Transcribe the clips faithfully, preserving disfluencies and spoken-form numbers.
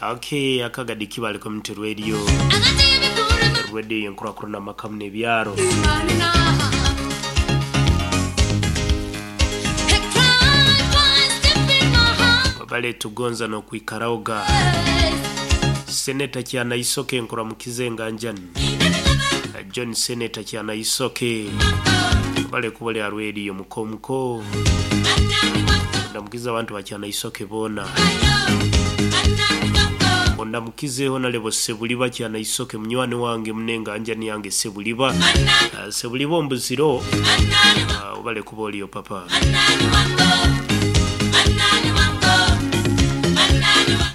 Okay, akagadi Kibale Community Radio, radio yenkurakurana makamu n'ebyaro. Bale tugonza n'okwikaraoga. Seneta Kyanaisoke nkuramukize nganjani. John Seneta Kyanaisoke bale kubale ya radio mukomuko, ndamukiza abantu ba Kyanaisoke bona, ondamukizeho nalebo Sebuliba Kyanaisoke munywani wange munenga anjani yange Sebuliba. uh, Sebuliba ombuziro, uh, ubale kuba oliyo papa.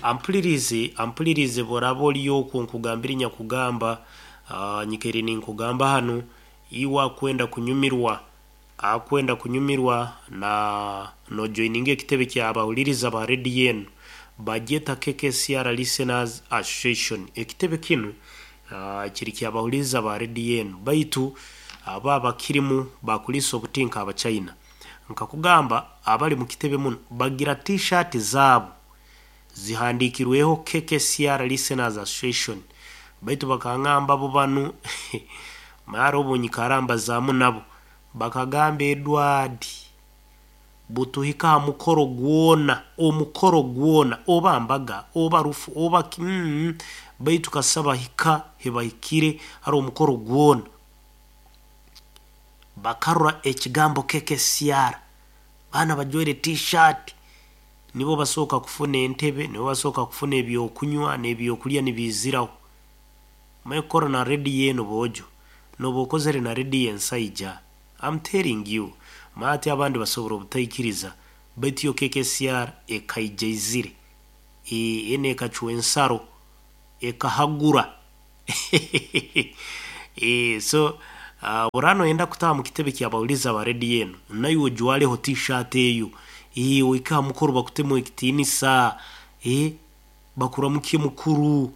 Ampulirize ampulirize bworaba oliyo okwo nkugambira nyakugamba, uh, nyikeri ninkugamba hanu iwe akwenda kunyumirwa akwenda kunyumirwa na nojoininga ekitebe kyabahuliriza ba rediyo enu bagyeta K K C R Listeners Association. Ekitebe kinu uh, kiri kyabahuliriza ba rediyo enu, baitu aba abakirimu bakulisa obutinka abachina. Nkakugamba abali mu kitebe muno bagira t-shirt zaabo zihandikirweho K K C R Listeners Association, baitu bakangamba bo banu mara obunyikaramba zamu nabo bakagamba Edward butuhika mukoro gwona omukoro gwona oba mbaga oba rufu oba mm, baitu kasaba hika hebahikire hari omukoro gwona bakarura ekigambo K K C R. Bana bajwere t-shirt nibo basooka kufuna entebe, nibo basooka kufuna ebyokunywa n'ebyokulya nibiziraho. Mekoro na rediyo eno bojo nobokozere na rediyo ensaija, I'm telling you maati abandi basobora obutaikiriza, baitu yo K K C R ekaijaizire e, ene ekacwa ensaro ekahagura. E, so uh, orano enda kutaha mu kitebe kyabawuliza ba rediyo eno nayo ojwaleho t-shirt eyo e, oika mukuru bakutemu ekitiinisa e, bakuramukie mukuru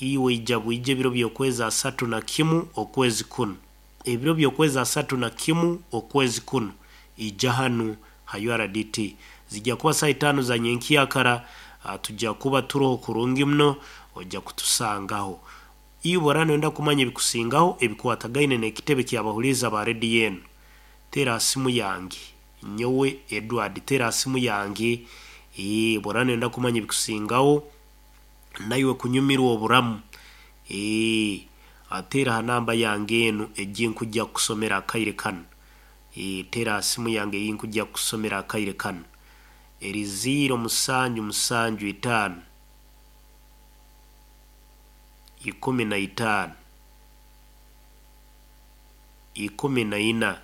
iwe ija bwije ebiro by'okwezi asatu na kimu okwezi kuno, ebiro by'okwezi asatu na kimu okwezi kuno ija hanu ha U R D T zijja kuba saa itaano za nyenkyakara. Tujja kuba turoho kurungi muno, ojja kutusangaho. Iwe orano enda kumanya ebikusingaho ebikwatagaine n'ekitebe kyabahuliza ba rediyo eno, tera simu yange nyowe Edward, tera simu yange ee, borano enda kumanya ebikusingaho naiwe kunyumirwa oburamu ee, atera ha namba yange eno eginkujja kusomera akaire kano ee, tera simu yange eyinkujja kusomera akaire kano eri ziro musanju musanju itaano ikumi na itaano ikumi na ina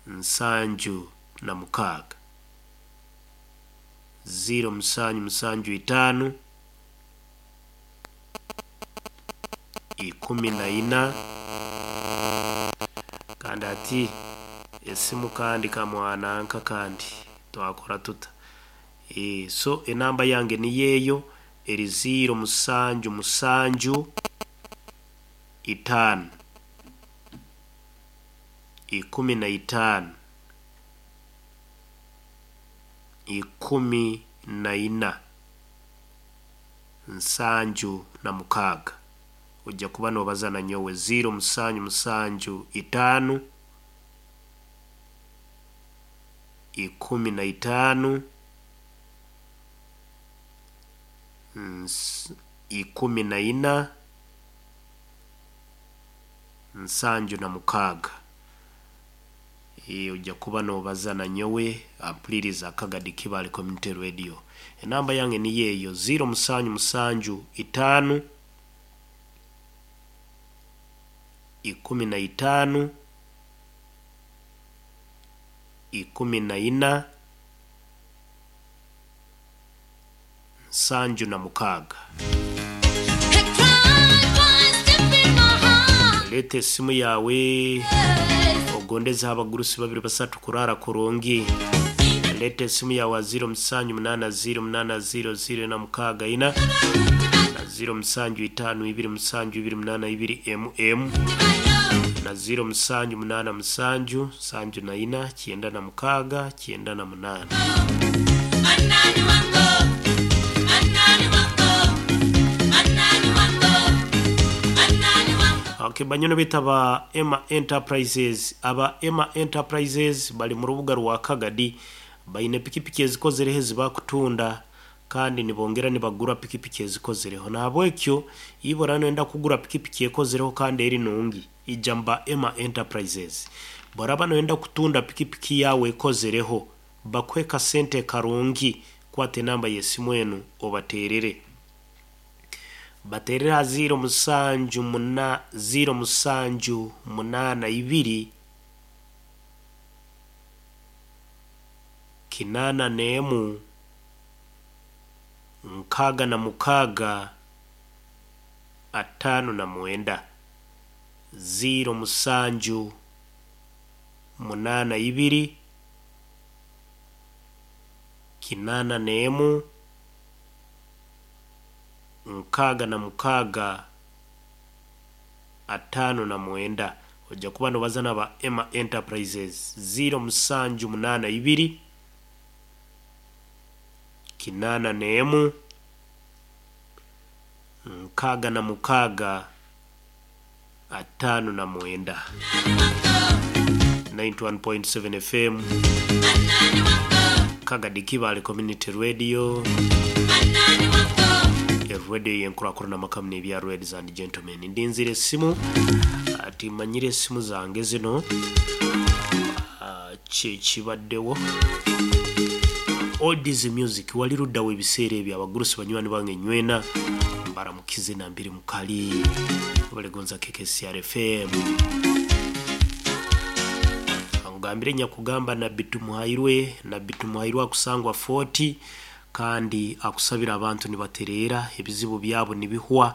nsanju na mukaaga ziro musanju musanju itaano ikumi na ina. Kandi ati esimu kandi kamwananka kandi twakora tuta e, so enamba yange niyeyo eri ziro musanju musanju itaano ikumi na itaano ikumi na ina nsanju na mukaaga. Ojja kuba nobaza na nyowe ziro musanju musanju itaano ikumi na itaano ikumi na ina nsanju na mukaaga. E, ojja kuba nobaza na nyowe ampuliriza akagadi Kibale Community Radio. Enamba yange niyeyo ziro musanju musanju itaano ikumi na itaano ikumi na ina nsanju na mukaaga. Leta esimu yawe ogondeza abagurusi babiri basatu kurara kurungi. Leta esimu yawe ziro musanju munana ziro munana ziro ziro na mukaaga ina na ziro musanju itaano ibiri musanju ibiri munana ibiri mm na ziro musanju munana musanju sanju na ina kyenda na mukaaga kyenda na munana. Okay, banyono betaba Emma Enterprises. Aba Emma Enterprises bali mu rubuga rwa Kagadi, baine pikipiki ezikozereho ezibakutunda kandi nibongera nibagura pikipiki ezikozereho. Nahabwekyo ibora noyenda kugura pikipiki ekozereho kandi eri nungi, ijamba Emma Enterprises. Boraba noyenda kutunda pikipiki yawe ekozereho, bakuhe kasente karungi, kwata enamba y'esimu enu obaterere. Baterere ha ziro musanju muna ziro musanju munana ibiri kinana n'emu nkaaga na mukaaga ataano na mwenda. Ziro musanju munana ibiri kinana n'emu nkaaga na mukaaga ataano na mwenda. Ojja kuba nobaza naba Emma Enterprises. Ziro musanju munana ibiri kinana n'emu nkaaga na mukaaga ataano na mwenda. ninety one point seven F M Kagadi Kibale Community Radio, radio yenkurakurana makamu n'ebya ladies and gentlemen. Ndinzire esimu ati manyire esimu zange zino kyekibaddewo. Oldies music wali luddawo ebiseera ebyo abagurusi banywani bange nywena mbaramukize nambiri mukali balegonza K K C R F M. Angambire nyakugamba Nabbi Tumuhairwe, Nabbi Tumuhairwe akusangwa forty kandi akusabira abantu nibaterera ebizibu byabo nibihwa,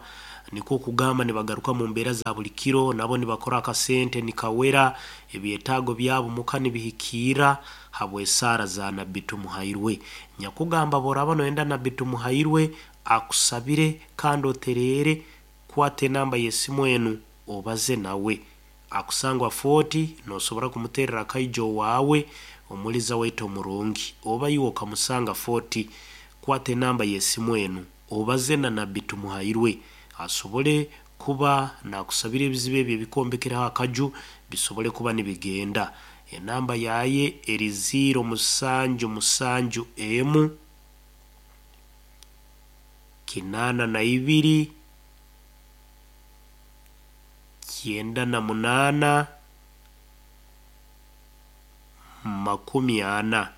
niko kugamba nibagaruka mu mbeera za buli kiro, nabo nibakora akasente nikawera ebyetaago byabo muka nibihikiira habw'esaara za Nabbi Tumuhairwe. Nyakugamba boraba noyenda Nabbi Tumuhairwe akusabire kandi oterere, kwata enamba y'esimu enu obaze nawe. Akusangwa forty nosobora kumuterera akaijo waawe omuliza waitu omurungi, oba iwe okamusanga forty, kwata enamba y'esimu enu obaze na Nabbi Tumuhairwe asobole kuba nakusabira ebizibu ebyo ebikombekeraho akaju bisobole kuba nibigenda. Enamba yaye eri ziro musanju musanju emu kinana na ibiri kyenda na munana makumi ana.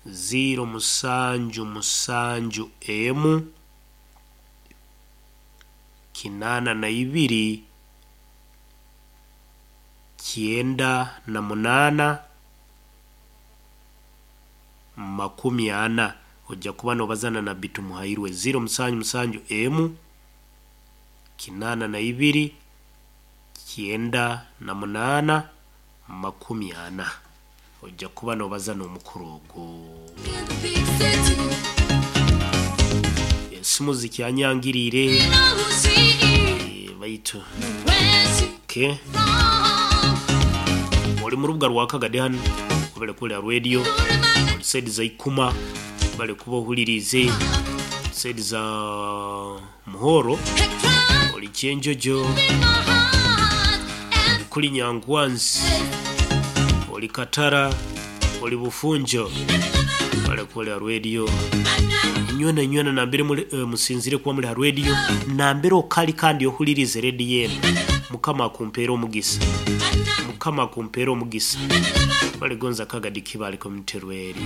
Ziro musanju musanju emu kinana na ibiri kyenda na munana makumi ana. Ojja kuba nobazana na Nabbi Tumuhairwe. Ziro musanju musanju emu kinana na ibiri kyenda na munana makumi ana. Ojja kuba nobazana omukuru ogwo. Esimu zikyanyangirire baitu okay. Oli mu rubuga rwa Kagadi hano kubale kuli radio oli saidi za Ikuma bale kuba ohulirize saidi za Muhoro oli Kyenjojo kuli Nyangwanzi oli Katara oli Bufunjo bale kuli radio nywena nywena nambere muli uh, musinzire kuba muli ha radio nambere okali kandi ohulirize radio yenu. Mukama akumpeera omugisa, Mukama akumpeera omugisa. Balegonza Kagadi Kibale Community Radio.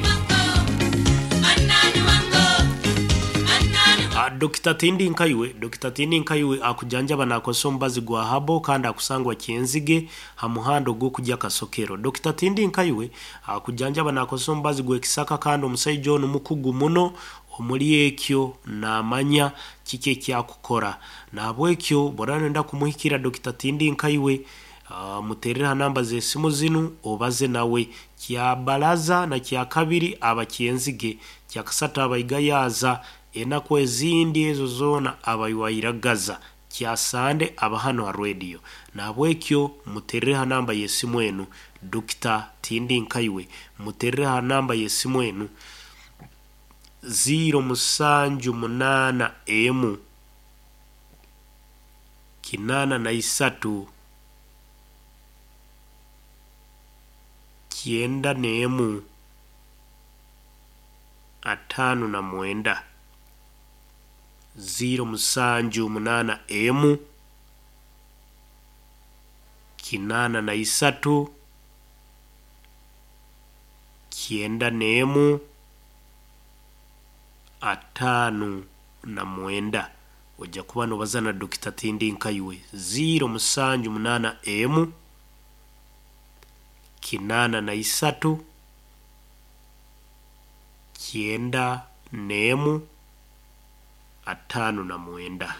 Dokita Tindi Nkaiwe, Dokita Tindi Nkaiwe akujanjaba nakosa omubazi gwa habo kandi akusangwa Kyenzige ha muhando gw'okujya Kasokero. Dokita Tindi Nkaiwe akujanjaba nakosa omubazi gw'ekisaka kandi omusaija ono mukugu muno omuli ekyo namanya kiki ekyakukora. Nahabwekyo bw'oraaba noyenda kumuhikira Dokita Tindi Nkaiwe, uh, muterere ha namba z'esimu zinu obaze nawe. Kya baraza na kya kabiri aba Kyenzige, kya kasatu aba Igayaza, enaku ezindi ezo zoona abaywairagaza, kyasande aba hano ha radio. Nahabwekyo muterere ha namba y'esimu enu Dokita Tindi Nkaiwe, muterere ha namba y'esimu enu. Ziro musanju munaana emu kinaana na isatu kyenda n'emu ataano na mwenda. Ziro musanju munaana emu kinaana na isatu kyenda n'emu ataano na mwenda. Ojja kuba nobaza na Dokita Tindinkaiwe. Ziro musanju munaana emu kinaana na isatu kyenda n'emu ataano na mwenda.